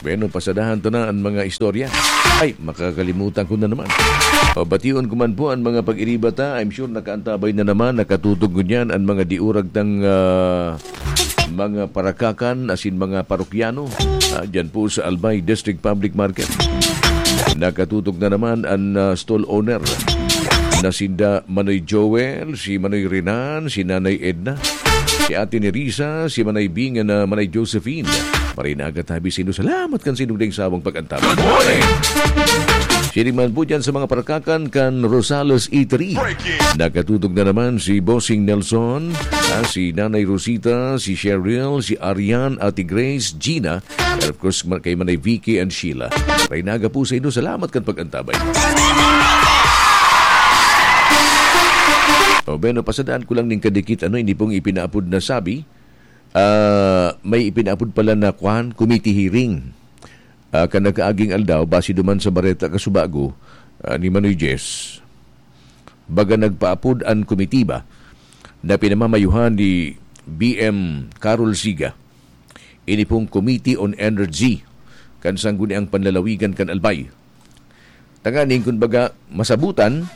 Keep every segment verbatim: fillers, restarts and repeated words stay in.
Bueno, pasadahan ta na an mga istorya. Ay, makakalimutan ko na naman. O, bation ko man po an mga pag-iriba ta. I'm sure nakaantabay na naman, nakatutok ngunyan an mga diurag tang, ah, mga parakakan, asin mga parokyano. Ah, dyan po sa Albay District Public Market. Nakatutok na naman an, ah, stall owner na sinda Manoy Joel, si Manoy Renan, si Nanay Edna, si Ate Nerissa, si Manay Bing, na Manay Josephine. Maray na aga tabi sino. Salamat kan sinugding sawang pag-antabay. Good morning! Siring man po dyan sa mga parakakan kan Rosales Eatery. Nakatutok na naman si Bossing Nelson, ah, si Nanay Rosita, si Cheryl, si Arian, Ate Grace, Gina, and of course, ma-, kay Manay Vicky and Sheila. Maray na aga po sa inyo. Salamat kan pag-antabay. O, bueno, pasadaan ko lang ning kadikit, ano, ini pong ipinaapod na sabi. Ah, may ipinaapod pala na, kwan, committee hearing. Ah, kan nakaaging aldaw, base duman sa bareta kasubago, ah, ni Manoy Jess. Baga nagpaapod an komitiba na pinamamayuhan ni B M Carol Siga. Ini pong Committee on Energy kan Sangguniang Panlalawigan kan Albay. Tanganing, kun baga, masabutan,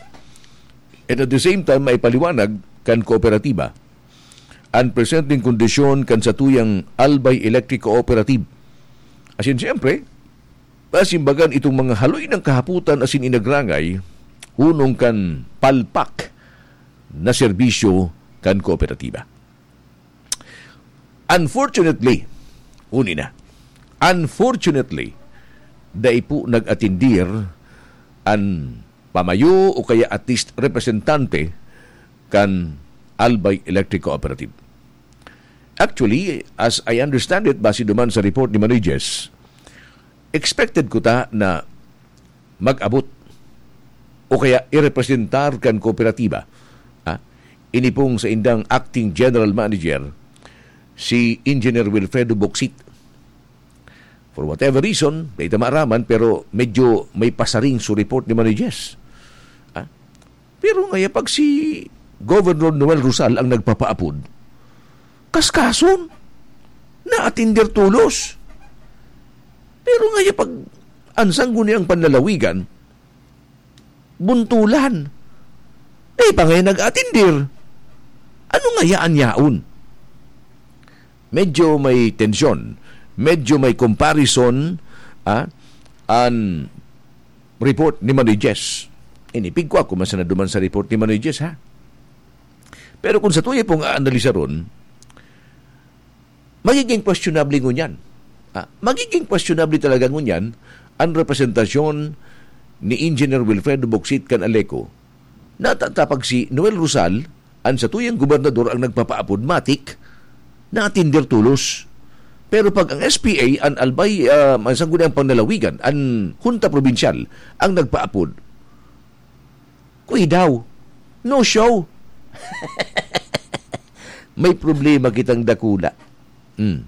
and at the same time, maipaliwanag kan kooperatiba an presenteng kondisyon kan satuyang Albay Electric Cooperative. Asin, siyempre, pasimbagan itong mga haloy ng kahaputan asin inagrangay, hunong kan palpak na serbisyo kan kooperatiba. Unfortunately, uni na. Unfortunately, dai po nag-atindir an pamayo o kaya at least representante kan Albay Electric Cooperative. Actually, as I understand it, base duman sa report ni Manoy Jess, expected ko ta na mag-abot o kaya irepresentar kan kooperatiba, ah, ini pong saindang acting general manager, si Engineer Wilfredo Boksit. For whatever reason, dai ta maaraman, pero medyo may pasaring su report ni Manoy Jess. Ah, pero ngaya pag si Governor Noel Rosal ang nagpapaapod, kaskason, naatinder tolos. Pero ngaya pag an Sangguniang Panlalawigan, buntulan. Dai pa ngaya nag-atindir. Ano ngaya an yaon? Medyo may tensyon, medyo may comparison, ah, an report ni Manoy Jess. Ini, pigkua ko man sana duman sa report ni Manoy Jess, ha? Pero kung satuya pong aanalisaron, magiging questionable ngunyan. Ah, magiging questionable talaga ngunyan an representasyon ni Engineer Wilfredo Boksit kan ALECO. Natatapag si Noel Rosal, an satuyang gobernador, ang nagpapaapod, matik, naatinder tolos. Pero pag ang S P A, an Albay, ah, an Sangguniang Panlalawigan, an Hunta Probinsyal, ang nagpaapod, kuidaw, no show. May problema kitang dakula. Hmm.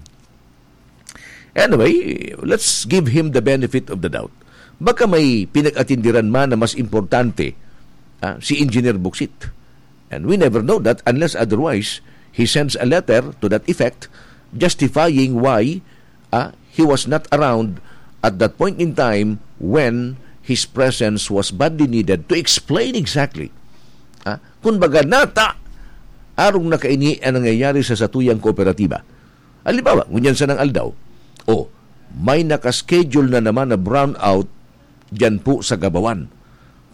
Anyway, let's give him the benefit of the doubt. Baka may pinag-atindiran man na mas importante, ah, si Engineer Buksit. And we never know that unless otherwise, he sends a letter to that effect justifying why, ah, he was not around at that point in time when his presence was badly needed to explain exactly, ah, kung baga nata, arong nakaini ang nangyayari sa satuyang kooperatiba. Halimbawa, ngunyan sanang aldaw, o, may nakaschedule na naman na brownout diyan po sa Gabawan.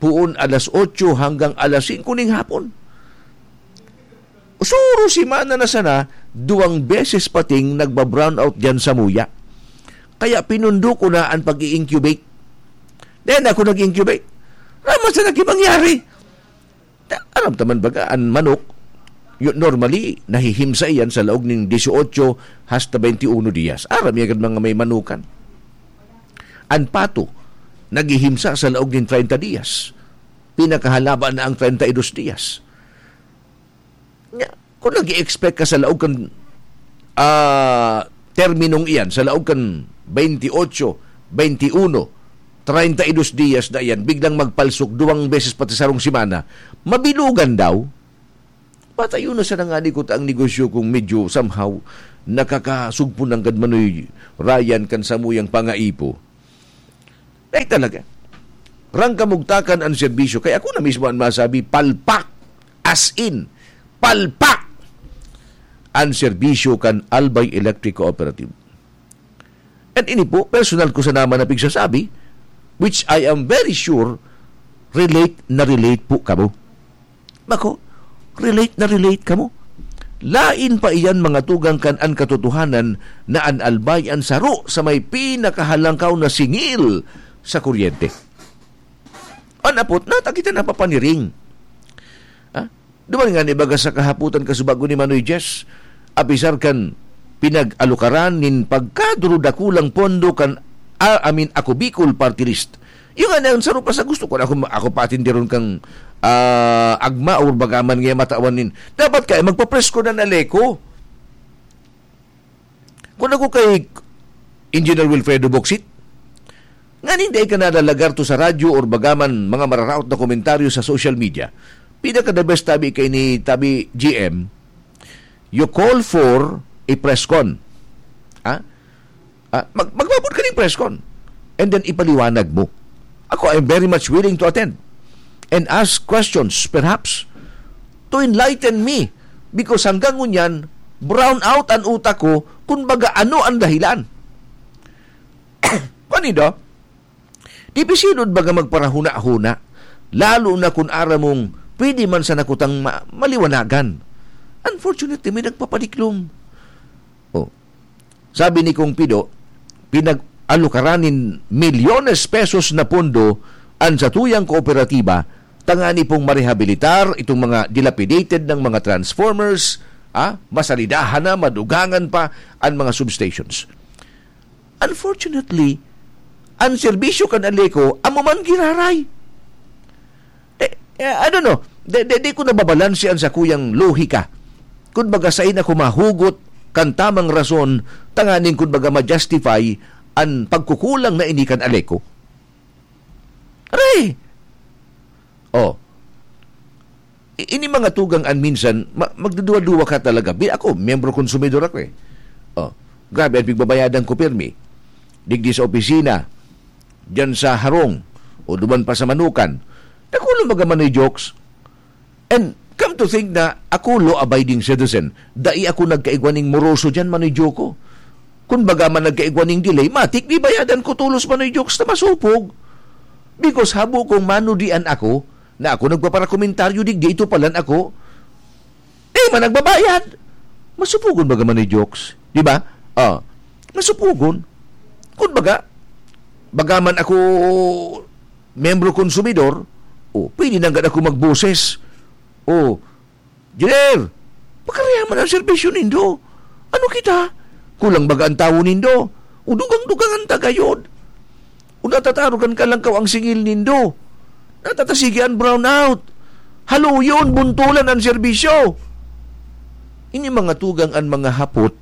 Puon alas otso hanggang alas singko ning hapon. Suro semana na sana, duwang beses pating nagba-brownout diyan sa Muya. Kaya pinundo ko na an pag-i-incubate. Then ako nag-incubate. Raman sa nagkimangyari. Ta-, aram ta man baga, an manok, yu-, normally, nahihimsa iyan sa laog ning dieciocho hasta veintiuno dias. Aram iyan kan mga may manukan. An pato, naghihimsa sa laog ning treinta dias. Pinakahalaba na ang treinta y dos dias. Nya, kung nag-i-expect ka sa laog kan, ah, terminong iyan, sa laog kan veintiocho, veintiuno, treinta y dos dias na iyan, biglang magpalsok duwang beses pati sarong semana, mabilugan daw. Patayon na sana ngani ko ta ang negosyo kung medyo somehow nakakasugpo nanggad, Manoy Ryan, kan samuyang pangaipo. Ay, talaga. Rang kamugtakan an serbisyo. Kaya ako na mismo an masabi, palpak. As in, palpak an serbisyo kan Albay Electric Cooperative. And ini po, personal ko sana man na pigsasabi, which I am very sure, relate na relate po kamo. Bako, relate na relate kamo. Lain pa iyan, mga tugang, kan an katotohanan na an Albay an saro sa may pinakahalangkaw na singil sa kuryente. An apot, nata kita napapaniring. Ha? Duman nga ni baga sa kahapotan kasubago ni Manoy Jess, apisar kan pinag-alukaran nin pagkadurudakulang pondo kan, ah, I mean, Ako Bicol Party List. Yung nga, ang saro pa sa gusto ko, ako, ako patindiron kang, ah, agma or bagaman nga matawan nin. Dapat kaya magpa-press ko na na Leco. Kung ako kay Engineer Wilfredo Boksit, nganing dai ka nalalagar to sa radyo or bagaman mga mararaot na komentaryo sa social media, pinaka the best tabi kay ni tabi G M, you call for a press con. Ha? Ah, mag-, magbabot ka ng press con. And then ipaliwanag mo. Ako, I'm very much willing to attend and ask questions, perhaps, to enlighten me. Because hanggang ngunyan, brown out an utak ko kung baga ano ang dahilan. Paano daw? Dipisilon baga magparahuna-huna, lalo na kung aram mong pwede man sana kutang ma-, maliwanagan. Unfortunately, may nagpapadiklom. Oh. Sabi ni Kong Pido, pinag-alukaran nin milyones pesos na pondo an satuyang kooperatiba tangani pong marehabilitar itong mga dilapidated ng mga transformers, ah, masalidahan na, madugangan pa an mga substations. Unfortunately, an serbisyo kan Aleco amo man giraray. Eh, eh, I don't know. Di, di, di ko nababalanse an sakuyang lohika. Kun baga, sain ako mahugot kan tamang rason tanganing kun baga ma-justify an pagkukulang na ini kan Aleco. Aray! Oh. I-, ini mga tugang an minsan, ma-, magduduwa-duwa ka talaga. Bi-, ako, miyembro konsumidor ako eh. Oh, grabe, an pigbabayadan ko pirmi. Digdi sa opisina, diyan sa harong, o duman pa sa manukan. Nakulang baga man ni jokes. And come to think na ako, law-abiding citizen, dai ako nagkaigwa ning moroso diyan, Manoy Joko. Kun baga man nagkaigwa ning delay, matik, bibayadan ko tolos, Manoy Jokes, ta masupog. Because habo kong manudian ako, na ako nagpaparakomentaryo digdi, ito palan ako, eh, man nagbabayad. Masupogon baga, Manoy Jokes. Di ba? Ah, masupogon. Kun baga, baga man ako membro konsumidor, o, pwede nanggad ako magboses. O, "Engineer, pagkarayaman ang serbisyo nindo. Ano kita? Kulang baga ang tawo nindo? O dugang-dugangan ta gayod? O natataro kan kalangkaw ang singil nindo? Natatasigi an brownout? Haluyon, buntolan an serbisyo." Ini mga tugang an mga hapot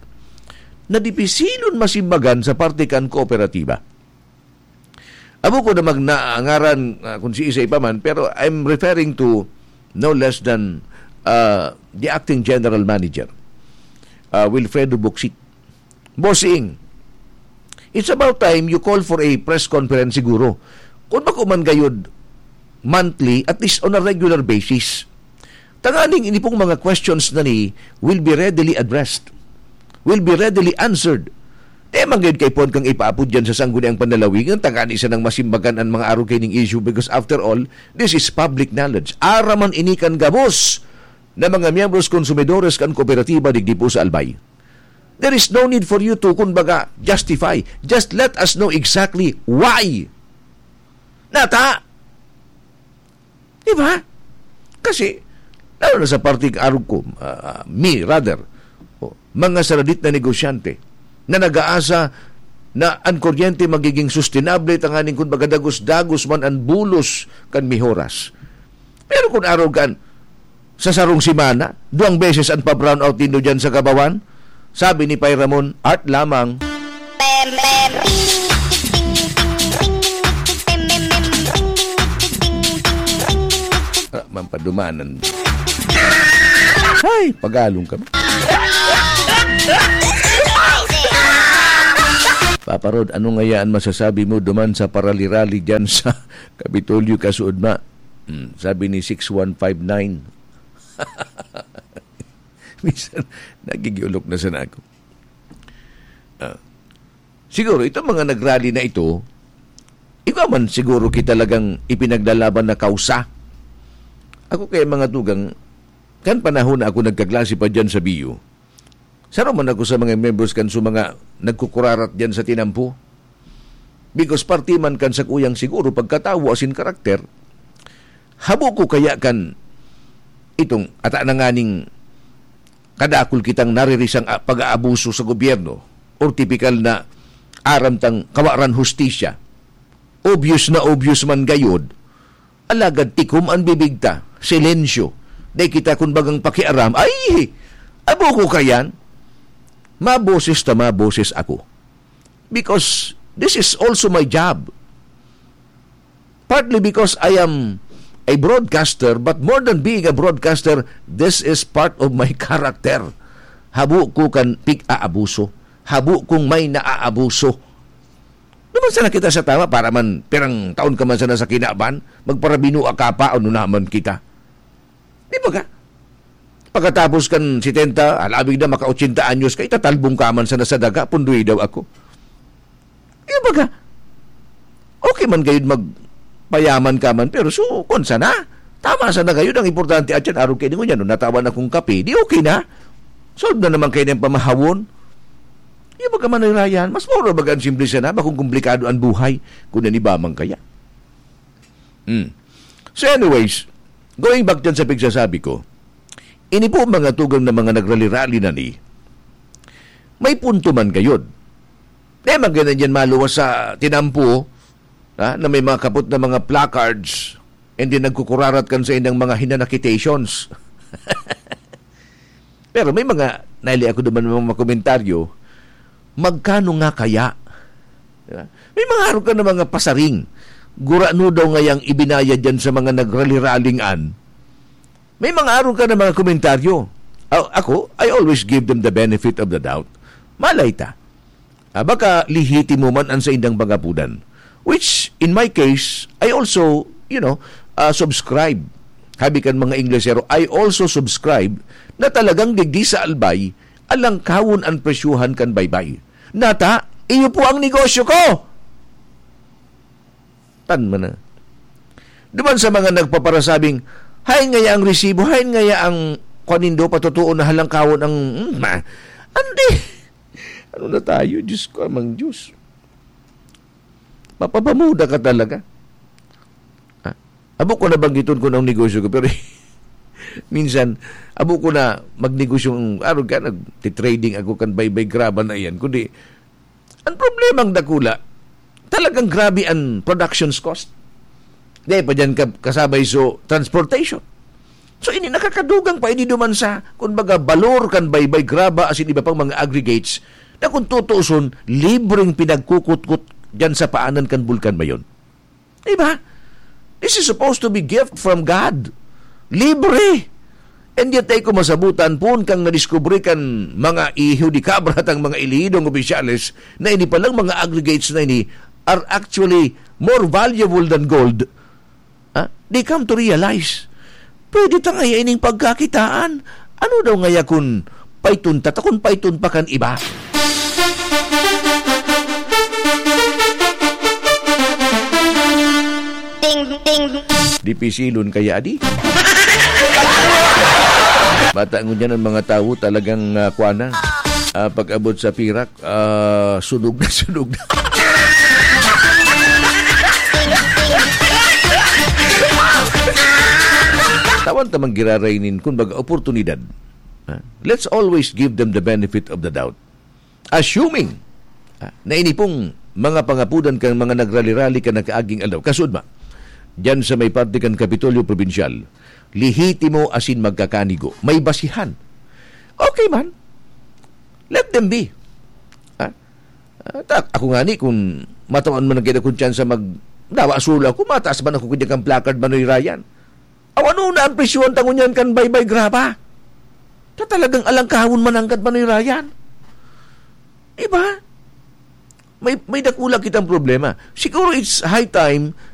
na dipisilon masimbagan sa parte kan kooperatiba. Amo ko na magnaangaran, ah, kung si isa pa man, pero I'm referring to no less than, ah, the acting general manager, ah, Wilfredo Boksit. "Bossing, it's about time you call for a press conference siguro. Kung bako man gayod monthly, at least on a regular basis. Tanganing ini pong mga questions na ni will be readily addressed, will be readily answered." Di man gayud kaipuhan kang ipaapod diyan sa sangguniang panlalawigan, tangani sanang masimbagan an mga arog kaining issue, because after all, this is public knowledge. Aram man ini kan gabos na mga miyembros konsumidores kan kooperatiba digdi po sa Albay. There is no need for you to, kun baga, justify. Just let us know exactly why. Nata? Di ba? Kasi, lalo na sa parting arog ko, ah, me, rather, o, mga saradit na negosyante na nag-aasa na an kuryente magiging sustainable tanganing kun baga dagos-dagos man an bulos kan mihoras. Pero kun arog kan sa sarong semana, duwang beses an pa-brownout nindo diyan sa Gabawan, sabi ni Pay Ramon, "Art lamang." Ah, mampadumanan. Hay, pagalong kami. Parod, ano ngaya an masasabi mo duman sa parali-rali diyan sa Kapitolyo, kasuodma? Hmm, sabi ni six one five nine. Minsan, nagigiulok na sana ako. Ah, siguro, itong mga nagrally na ito, iba man siguro kita talagang ipinaglalaban na kausa. Ako kaya, mga tugang, kan panahon na ako nagkaklase pa dyan sa B U, saro man ako sa mga members kan sa mga nagkukurarat dyan sa tinampo. Because parte man kan sakuyang siguro pagkatawo asin karakter, habo ko kaya kan itong ata na nganing kadakul kitang naririsang a-, pag-aabuso sa gobyerno or tipikal na aram tang kawaran hustisya. Obvious na obvious man gayod, alagad tikom an bibig ta, silensyo. Dai kita kun bagang pakiaram. Ay! Abo ko kayan. Maboses ta maboses ako. Because this is also my job. Partly because I am a broadcaster, but more than being a broadcaster, this is part of my character. Habo ko kan pig-aabuso. Habo kong may naaabuso. Naman sana kita sa tama para man pirang taon ka man sana sa kinaban, magparabinua ka pa, ano naman kita? Di ba ka? Pagkatapos kan setenta, alabig na maka-ochenta anyos ka, itatalbong ka man sana sa daga, pundoy daw ako. Di ba ka? Okay man gayud magpayaman ka man, pero so, kung sana, tama sana gayud, ang importante at yan, araw kayo ngunyan, no, natawan akong kape, di okay na. Solve na naman kayo ng pamahawon. Di ba ka, Manoy Ryan? Mas mura baga ang simple sana, bakong komplikado ang buhay, kung naniba man kaya. Hmm. So anyways, going back dyan sa pigsasabi ko, ini po mga tugang na mga nagrali-rali na ni, may punto man gayod. Di man ganyan yan maluwas sa tinampo, ha, na may mga kapot na mga placards, and then nagkukurarat kan sa indang mga hinanakitations. Pero may mga, naili ako naman ng mga komentaryo, "Magkano nga kaya?" Di ba? May mga arog ka na mga pasaring. Gurano daw ngayang ibinayad yan sa mga nagrali-raling an. May mga arog ka na mga komentaryo. A-, ako, I always give them the benefit of the doubt. Malay ta. Ah, baka lehitimo man ang saindang pangapudan. Which, in my case, I also, you know, ah, subscribe. Habi kan mga Inglesero, I also subscribe na talagang digdi sa Albay, alangkawon an presyuhan kan baybay. Nata, iyo po ang negosyo ko! Tan man na. Duman sa mga nagpaparasabing, "Hain ngaya ang resibo? Hain ngaya ang kwan nindo? Patotoo na halangkawon ang," hmm, ma-, andi! Ano na tayo? Diyos ko, amang Diyos. Mapapamuda ka talaga. Ah, abo ko na banggiton ko ng negosyo ko, pero minsan, abo ko na magnegosyong, ano ka, nagtitrading ako kan baybay graba na yan. Kundi, ang problemang dakula, talagang grabe ang production's cost. Dahil pa dyan ka-, kasabay so transportation. So, ini nakakadugang pa, ini duman sa, kumbaga, balor kan baybay graba asin iba pang mga aggregates na kung tutuuson, libreng pinagkukutkot dyan sa paanan kan Bulkan Mayon. Diba? This is supposed to be gift from God. Libre. And yet, ay ko masabutan, poon kang nadiskubre kan mga iho di kabra tang mga elihidong opisyales na ini palang mga aggregates na ini are actually more valuable than gold. Ha? They come to realize, pwede ta ngaya ining pagkakitaan. Ano daw ngaya kun paiton ta, ta kun paiton pa kan iba? Ting, ting. Dipisilon kaya, adi? Bata ngunyan ang mga tawo talagang, ah, kuwan na. Ah, pag-abot sa pirak, ah, sunog na sunog na. Tawan ta man giraray nin, kumbaga, oportunidad. Ah, let's always give them the benefit of the doubt. Assuming, ah, na ini pong mga pangapudan kan mga nagrali-rali kan nakaaging aldaw, kasuodma, diyan sa may parte kan Kapitolyo Probinsyal, lehitimo asin magkakanigo, may basihan. Okay man. Let them be. Ah, ah, ta-, ako ngani, kung matawan man ang kinakonsyansa mag-, dawa solo ako, mataas man ako kanya kang placard, Manoy Ryan. Aw, ano na ang presyohan ta ngunyan kan baybay graba? Ta talagang alangkahon man anggad, Manoy Ryan. Diba? may, may dakula kitang problema. Siguro it's high time